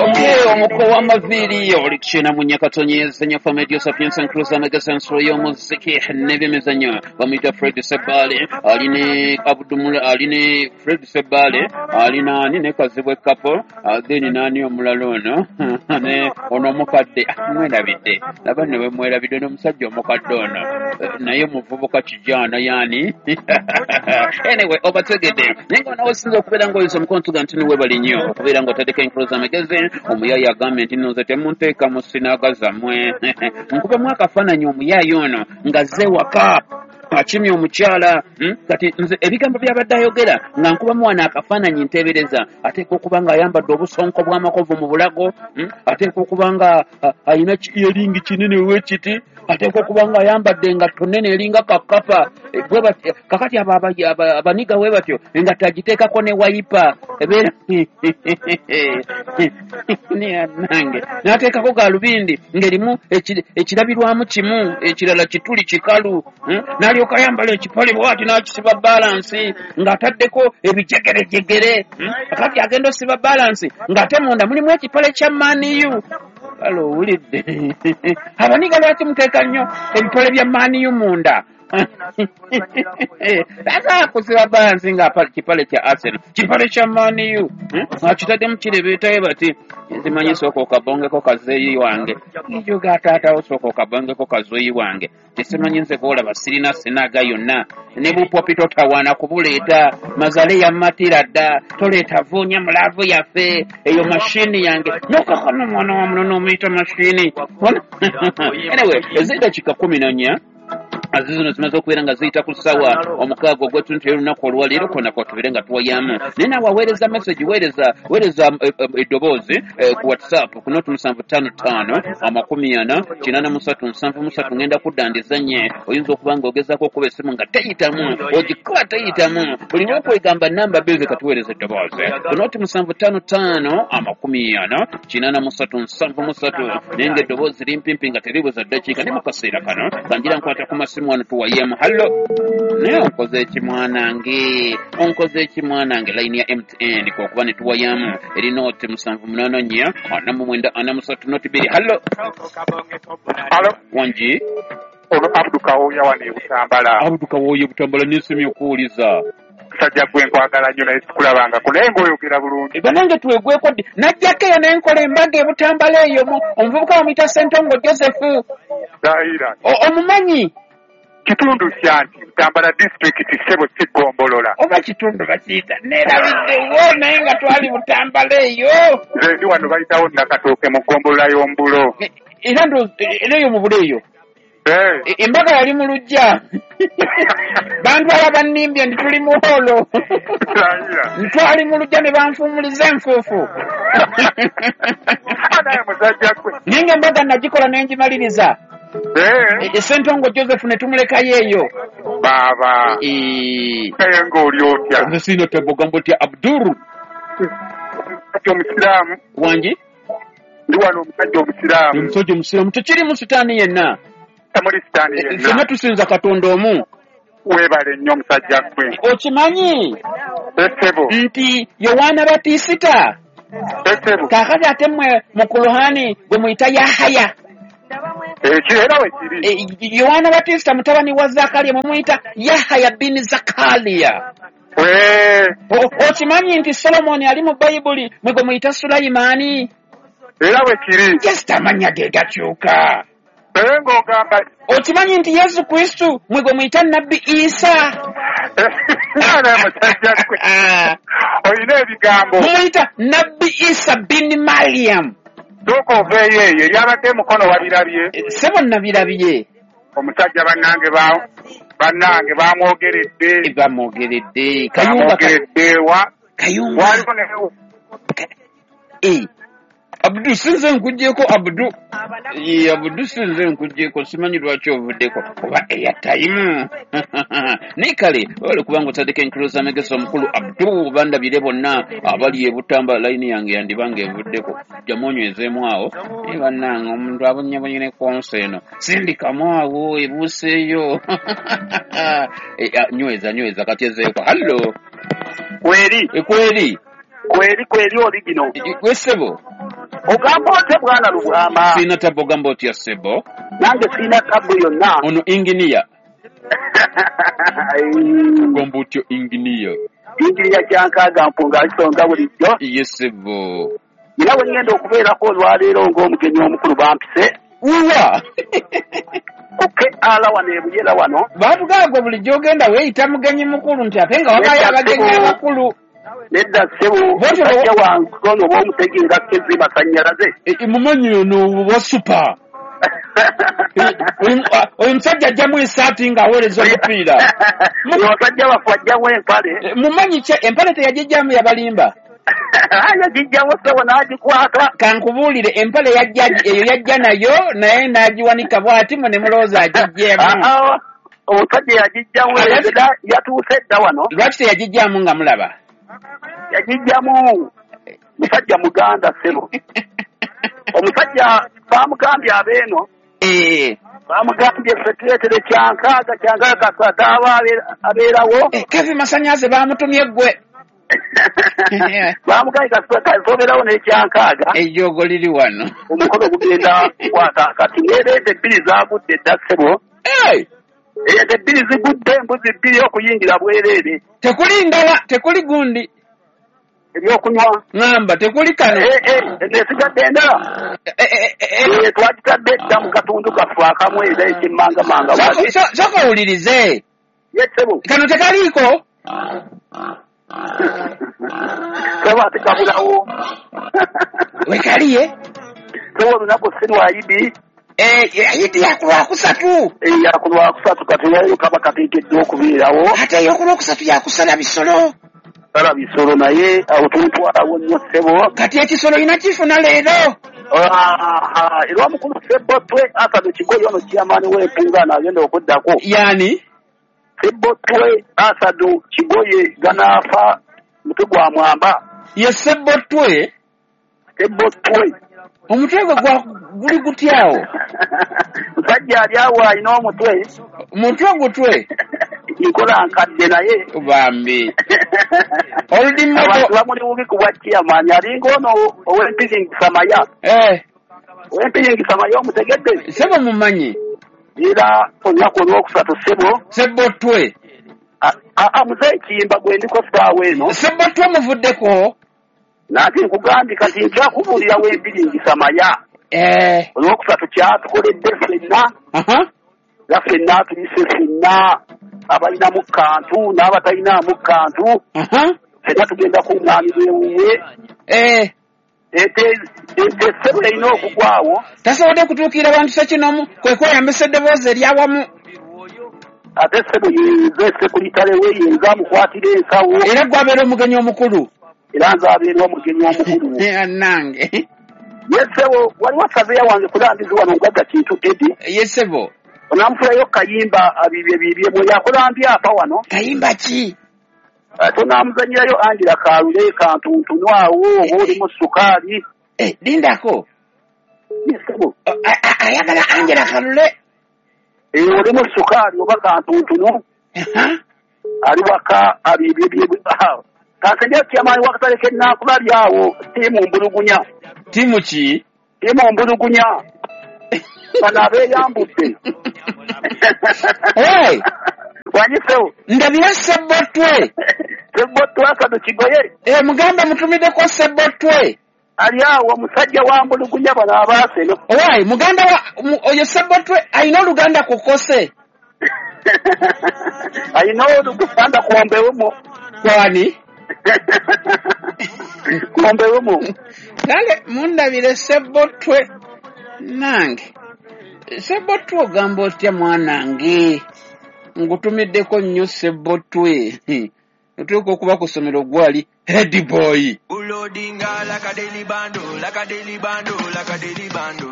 Okay, omuko w'amaviiri oli kukyena mu nyakatonyeza nyafamedio sapiensa nkruza amagesa nsolo y'omuziki n'ebyemizannyo. Bamuyita Fred Sebale, aline Abdumula, aline Fred Sebale, alina ani ne Kazibwe Kapo, then nani omulala ono ne ono omukadde mwerabidde, laba ne bwemwerabidde n'omusajja omukadde ono, naye muvubuka kijana yani. Anyway, obategedde naye nga nawe osinza okubeera ng'oyinza omukono tuga nti niwebali nnyo okubeera ng'otaddeko enkuluza amagezi. Omuyaayi agambye nti nno nze temunteeka mu sinaga zammwe. Nkubemu akafaananyi omuyaayi ono ng'azze waka akimye omukyala, Kati nze ebigambo by'abadde ayogera nga nkubamu wano akafaananyi nteebereza ateekwa okuba ng'ayambadde obusonko bw'amakovu mu bulago, Ateekwa okuba nga alina eringi kinene wekiti, ateekwa okuba ng'ayambadde engatto nnene eringa kakapa. Kakati abo abaniga we batyo engatto agiteekako ne wayipa ebeera nange n'ateekako gaalubindi ng'erimu ekirabirwamu kimu ekirala kituli kikalu, N'alyoka ayambala ekipale bw'ati n'akisiba balansi ng'ataddeko ebijegerejegere, Kakati agenda osiba balansi ng'ate munda mulimu ekipale kya Man U. Kale owulidde abaniga lwaki muteeka nnyo ebipale bya Man U munda? Asa kusiba balansi nga kipale kya Arsenal, kipale kya Man U, akitaddemu kirebeetayo bati nzimanyi sooka okabongeko kazeeyi wange ekyo ga taatawo, sooka okabongeko kazeeyi wange tesimanyi nze gw'olaba sirina sinaga yonna ne bupopi totawaana kubuleeta mazale yammatira dda toleeta vuunya mulaavu yaffe eyo mashini yange nokakano omwana wa muno n'omuyita mashini. Anyway, ez'eddakiika 14 zino zimaze okubeera nga ziyita ku ssaawa 6 ogw'ettuntu y'olunaku olwaleero kona kwatubeere nga tuwayamu. Naye naawe aweereza message, weereza eddoboozi ku WhatsApp ku 0755 40 83 73. Ngenda kudda ndizanye. Oyinza okuba nga ogezaako okuba essimu nga teyitamu, ogikuba teyitamu, olina okwegamba namba bbiri. Katuweereza eddoboozi ku 0755 40 83 73, naye nga eddoboozi limpimpi nga teribuza ddakiika. Ne mu kaseera kano kanjira nkwata ku masimu wano tuwayemu. Hallo, naye onkoze eki mwanange, onkoze eki mwanange? Layini ya MTN kwokuba ne tuwayamu eri 0 784 49 43 0 2. Hallo. Alo. Wangi. Ono Abdu Kawooya wano e Butambala. Abdu Kawooya e Butambala, nesimye okuwuliza. Musajja gwe nkwagala nnyo naye sikulabangako, naye ng'oyogera bulungi. Banange twegweko ddi? Najjako eyo ne nkola embaga e Butambala eyo, omuvubuka bamuyita Sentongo Joseph. Dayira. Omumanyi? Kitundu kya nti Butambala disitulikiti ssebo, si ggombolola. Oba kitundu bakiyita neerabiddewo, naye nga twali Butambala eyo. Nze ndi wano bayitawo Nakatooke mu ggombolola y'Ombulo. Era era eyo mu Bulo eyo. Embaga yali mu luggya, bantwala bannimbye nti tuli mu hall. Dayira. Ntwali mu luggya ne banfuumuliza enfuufu. Naye musajja gwe. Naye nga embaga nagikola ne ngimaliriza. Sentongo Joseph ne tumulekayo eyo. Baaba. Naye ng'oli otya? Nze siina tebogamba otya Abdul? Omusajja omusiraamu. Wangi. Ndi wano omusajja omusiraamu. Omusajja omusiraamu tekirimu sitaani yenna. Temuli sitaani yenna. Ffenna tusinza Katonda omu. Weebale nnyo omusajja gwe. Okimanyi Essebo. nti Yowaana Batisita Essebo. kaakati ate mmwe mu Kuluhani gwe muyita Yahaya. Ekyo era we kiri. Yowaana Batisita mutabani wa Zakariya mwe muyita Yahaya bin Zakariya. Okimanyi nti Solomoni ali mu Bayibuli mwe gwe muyita Sulayimaani? Era bwe kiri. Just amannya ge gakyuka. Naye ng'ogamba Okimanyi nti Yesu Kristu mwe gwe muyita Nabbi Isa? Naye musajja gwe. Olina ebigambo. Mumuyita Nabbi Isa bin Mariam. Sooka oveeyo eyo eryabadde Mukono wabirabye. Sebo nabirabye. Omusajja bannange ba bannange bamwogeredde. Bamwogeredde. Kayunga Bamwogeredde wa Kayunga. Waliwo ne Abdu, sinze nkugyeko Abdu. Abdu, sinze nkugyeko, simanyi lwaki ovuddeko oba airtime, naye kale webale kubanga otandika enkulu z'amagezi omukulu Abdu. Bandabire bonna abali ebutamba layini yange yandibanga evuddeko, jjamu onywezeemu awo. Naye bannange omuntu abonyebonye ne konsa eno sindikamu awo ebuuseeyo. Nyweza nyweza kati ezeeko. Hallo. Kweri. Kweri. Kweri kweri oligino. Wesebo. Ogamba otya bwana Lubwama? Sina tabu ogamba otya sebo? Nange sina tabu yonna. Ono inginiya. Ogamba otya inginiya? Inginiya kyankaaga mpunga alisonga bulijjo. Ye sebo. Era we ngenda okubeerako olwaleero ng'omugenyi omukulu bampise. Uwa! Kuke ala wano ebuyera wano. Baatugamba gwe bulijjo ogenda weeyita mugenyi mukulu nti ate nga wabayo abagenyi abakulu. Nedda ssebo, musajja wange ono oba omutegeera kezzi masannyalaze. Mumanyi ono wa supa. Oyo musajja ajjamu essaati ng'aweereza omupiira. Omusajja waffe ajjamu empale. Mumanyi ki empale teyagijjamu yabalimba? Yagijjamu ssebo n'agikwata. Kankubuulire empale yajja eyo yajja nayo naye n'agiwanika bw'ati mwe ne mulowooza agiggyemu. Omusajja yagijjamu yatuuse dda wano. Lwaki teyagijjamu nga mulaba? Yagijjamu musajja muganda ssebo. Omusajja bamugambye abeeno. Bamugambye ffe tuleetere kyankaaga kyankaaga kasadaaba abeerawo. Kevi Masannyalaze bamutumye ggwe. Bamugambye kasobeerawo n'ekyankaaga. Ejjoogo liri wano. Omukono gugenda kukwata kati n'ereeta ebbiri zaagudde dda ssebo. Ente ebbiri zigudde embuzi bbiri okuyingira bwereere. Tekuli ndala tekuli gundi. Ebyokunywa. Ŋŋamba tekuli kano. Esigadde endala. Twagitadde dda mu katundu kaffe akamu era ekimmangamanga. Sooka owulirize. Ye ssebo. Kano tekaliiko. Ssebo ate kabulawo. Wekaliye. Ssebo olunaku si lwa Idi. Idi ya ku Lwakusatu. Ya ku Lwakusatu kati nayo kaba kateekeddwa okubeerawo. Ate ey'oku Lwokusatu yakusala bisolo. Sala bisolo naye awo tumutwalawo nnyo ssebo. Kati ekisolo olina kifuna leero. Era omukulu Ssebotwe Asadu Kigoye ono chairman w'empungaano agenda okuddako. Yaani? Ssebotwe Asadu Kigoye ganaafa mutwe gwa mwamba. Ye Ssebotwe? Ssebotwe. Omutwe gwe guli gutyawo? Musajja ali awo alina omutwe. Mutwe gutwe? Nkola nkadde naye. Bambi. Abantu bamuli bubi ku bwa chairman alinga ono ow'empiringisa maya. Ow'empiringisa maya omutegedde? Ssebo mumanyi. Era olunaku olwokusatu ssebo. Ssebotwe. Muzeeyi Kiyimba gwe ndiko ssaawa eno. Ssebotwe muvuddeko? Nanti nkugambye kati nkyakubuulira w'empiringisa maya. Olwokusatu kyatukoledde ffenna. Era ffenna tuyise ffenna abalinamu kantu n'abatalinamu kantu. Ffenna tugenda kuŋŋaanira ewuwe. Ente ssebo erina okugwawo. Tasobodde kutuukirira bantu ssekinomu kwe kweyambisa eddoboozi eryawamu. Ate ssebo yenze sekulitale we yenze amukwatira ensawo. Era gwabeera omugenyi omukulu. Era nze abeera omugenyi omukulu. Nange. Ye ssebo waliwo saveya wange kulambizi wano ngagga Kintu Edi. Ye ssebo. Onamufulayo Kayimba abibye bibye bwe yakulambye apa wano. Kayimba ki? Tonamuzanyirayo Angela Kalule kantuntuno awo oba olimu sukaali. Lindako. Ye ssebo. Ayagala Angela Kalule. Olimu sukaali oba kantuntuno. Ali waka abibye bibye. Kansenya chairman wakatale kennankubali awo ttiimu mbulugunya. Ttiimu ki? Ttiimu mbulugunya. Bano abeeyambudde. Wanyisewo. Ndabira Ssebotwe. Ssebotwe Asadu Kigoye. Mugambe mutumiddeko Ssebotwe. Ali awo omusajja wa mbulugunya bano abaaseno. Owaayi muganda wa oyo Ssebotwe alina oluganda ku Kose. Alina oluganda ku Mbewumu. Kwani? Kumbewumu. Kale mundabire Ssebotwe nange. Ssebotwe ogamba otya mwanange? Ngutumiddeko nnyo Ssebotwe. Otuuka okuba ku ssomero gwali head boy. Ulodinga like a daily bando, like a daily bando, like a daily bando.